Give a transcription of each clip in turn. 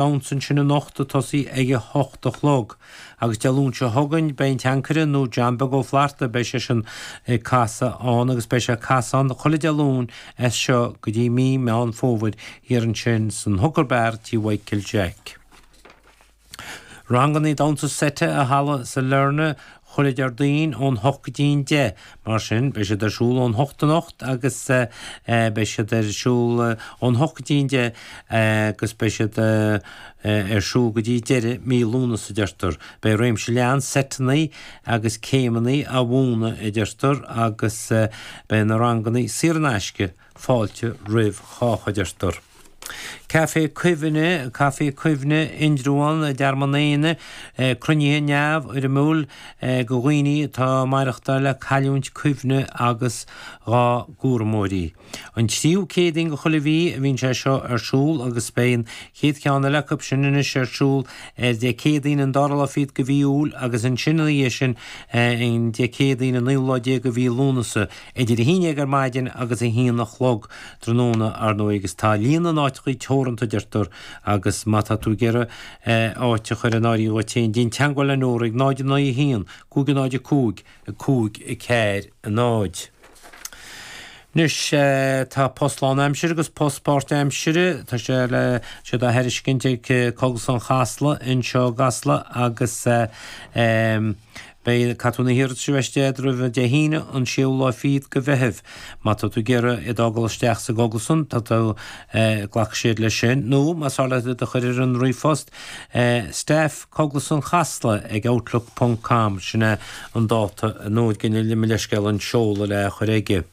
Damhsa ansin anocht ag tosaí ag a hocht a chlog. Agus Dé Luain seo chugainn beidh an Teancaire nó John Beag Ó Flatharta, beidh seisean ag casadh ann agus beidh sé ag casadh ann chuile Dé Luain as seo go dtí mí Meán Fómhair thiar ansin san Hooker Bar tí Mhichael Jack. Rangannaí damhsa seite i Halla Sailearna Chuile Déardaoin ón hocht go dtí an deich, mar sin beidh siad ar siúl ón hocht anocht agus beidh siad ar siúl ón hocht go dtí an deich agus beidh siad ar siúl go dtí deireadh mí Lúnasa a deirtear. Beidh réimse leathan seiteanna agus céimeanna á mhúineadh a deirtear agus beidh na ranganna saor in aisce Fáilte roimh chách a deirtear. Caife Cuimhne, Caife Cuimhne, Indreabhán, i dTearmann Éanna, cruinnithe neamhfhoirmiúil do dhaoine atá ag maireachtáil le cailliúint cuimhne agus dhá gcúramóirí. An tríú Céadaoin de chuile mhí a bhíonn sé seo ar siúl agus beidh an chéad cheann eile acu sin anois ar siúl ar Dé Céadaoin an dara lá fichead de mhí Iúil agus ansin ina dhiaidh sin an Dé Céadaoin an naoú lá déag de mhí Lúnasa. Idir 11 ar maidin agus 1 a chlog tráthnóna, ar ndóigh, agus tá líon na n-áiteachaí teoranta, a deirtear, agus má tá tú ag iarraidh áit a chur in áirithe dhuit féin, déan teagmháil le Nóra ag 0 9 1 5 0 5 5 4 0. Anois, tá post lán-aimsire agus post páirt-aimsire, tá sé le, siad á thairiscint ag Cógaslann Chasla anseo i gCasla agus Beidh, caithfidh tú na hiarratais a bheith istigh roimh Dé hAoine an séú lá fichead de Mheitheamh. Má tá tú ag iarraidh iad a fhágáil isteach sa gcógaslann, tá tú, glacfaidh siad leis sin. Nó más fearr leat iad a chur ar an ríomhphost, staff Cógaslann Chasla ag outlook ponc com, sin é an dáta, nó mo leithscéal an seoladh le chur aige.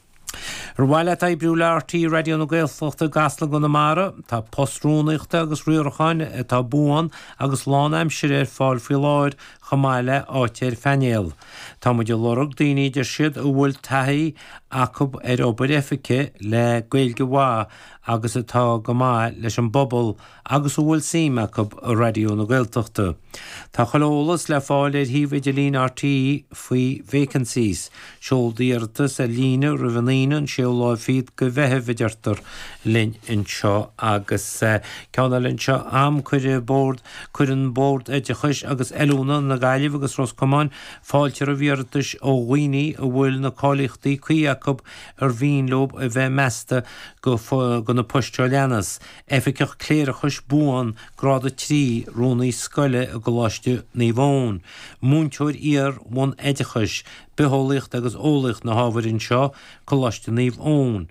Ar mhaith leat oibriú le RTÉ Raidió na Gaeltachta i gCasla i gConamara? Tá post rúnaíochta agus riaracháin atá buan agus lán-aimsire ar fáil faoi láthair chomh maith le áit ar phainéal. Tá muid ag lorg daoine, a deir siad, a bhfuil taithí acu ar obair oifige le Gaeilge mhaith agus atá go maith leis an bpobal agus a bhfuil suim acu i Raidió na Gaeltachta. Tá chuile eolas le fáil ar shuíomh idirlín RTÉ faoi Vacancies. Seol d'iarratas ar líne roimh an Aoine an séú lá fichead de Mheitheamh a deirtear linn anseo. Agus ceann eile anseo a'm, cuireadh Bord, cuireann Bord Oideachais agus Oiliúna na Gaillimhe agus Ros Comáin fáilte roimh iarratais ó dhaoine a bhfuil na cáilíochtaí cuí acu ar mhian leo a bheith measta do na poist seo a leanas. Oifigeach Cléireachais Buan, Grád 3, Rúnaí Scoile i gColáiste Naomh Eoin, Múinteoir Iar-bhunoideachais, Bitheolaíocht agus Eolaíocht na hábhair anseo, Coláiste Naomh Eoin,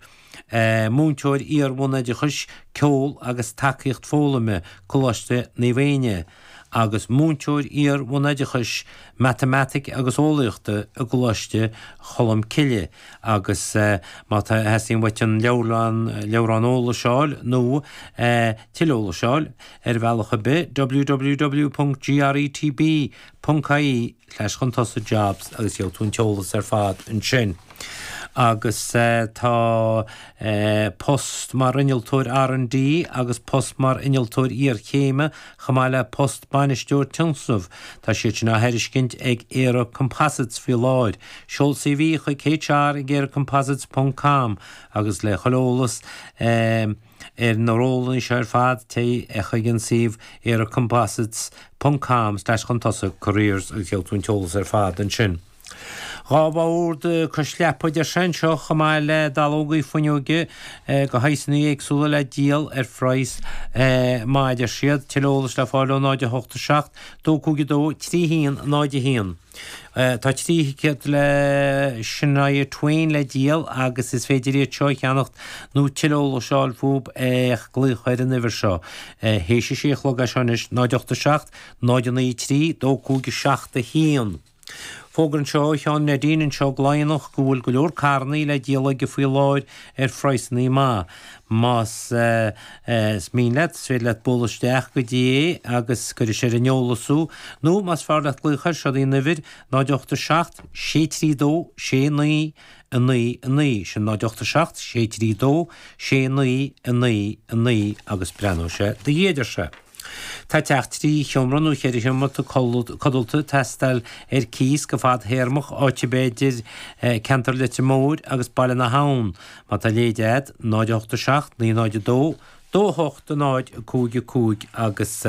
Múinteoir Iar-bhunoideachais, Ceol agus Tacaíocht Foghlaime, Coláiste Naomh Éinne, agus Múinteoir Iar-bhunoideachais, Matamaitic agus Eolaíochta i gColáiste Cholmcille. Agus má tá, theastaíonn uait an leabhrán, leabhrán eolais a fháil nó tuilleadh eolais a fháil ar bhealach ar bith, www.gretb.ie slash chun tosaigh jobs agus gheobhaidh tú an t-eolas ar fad ansin. Agus tá post mar innealtóir R&D agus post mar innealtóir iarchéime chomh maith le post bainisteoir tionscnamh, tá siad sin á thairiscint ag ÉireComposites faoi láthair. Seol CV chuig HR ag eirecomposites ponc com agus le chuile eolas ar na rólanna seo ar fad téigh chuig an suíomh eirecomposites ponc com slash chun tosaigh careers agus gheobhaidh tú an t-eolas ar fad ansin. 2 bhord cois leapa a deir sé anseo chomh maith le dallógaí fuinneoige de shaghsanna éagsúla le díol ar phraghas maith a deir siad. Tuilleadh eolais le fáil ó 0 8 7 2 5 2 3 1 0 1. Tá 3 thicéad le Shania Twain le díol agus is féidir iad seo a cheannacht nó tuilleadh eolais a fháil fúb ach glaoch ar an uimhir seo théis a sé a chlog é seo anois, 0 8 7 0 9 3 2 5 7 1. Fógra anseo ó Sheán Neidín anseo i gCloigheannach go bhfuil go leor carrannaí le díol aige faoi láthair ar phraghsannaí maith. Más mian leat, is féidir leat bualadh isteach go dtí é agus cuirfidh sé ar an eolas thú, nó más fearr leat glaoch air, seo í an uimhir, 0 8 7 6 3 2 6 9 9 9, sin 0 8 7 6 3 2 6 9 9 9 agus breathnóidh sé do dhiaidh, a deir sé. Tá teach 3 sheomra nó 4 sheomra codlata ag teastáil ar cíos go fadthéarmach áit ar bith idir ceantar Leitir Móir agus Baile na hAbhann. Má tá léide agat, 0 8 7 9 0 2. 2 8 0 5 5 agus.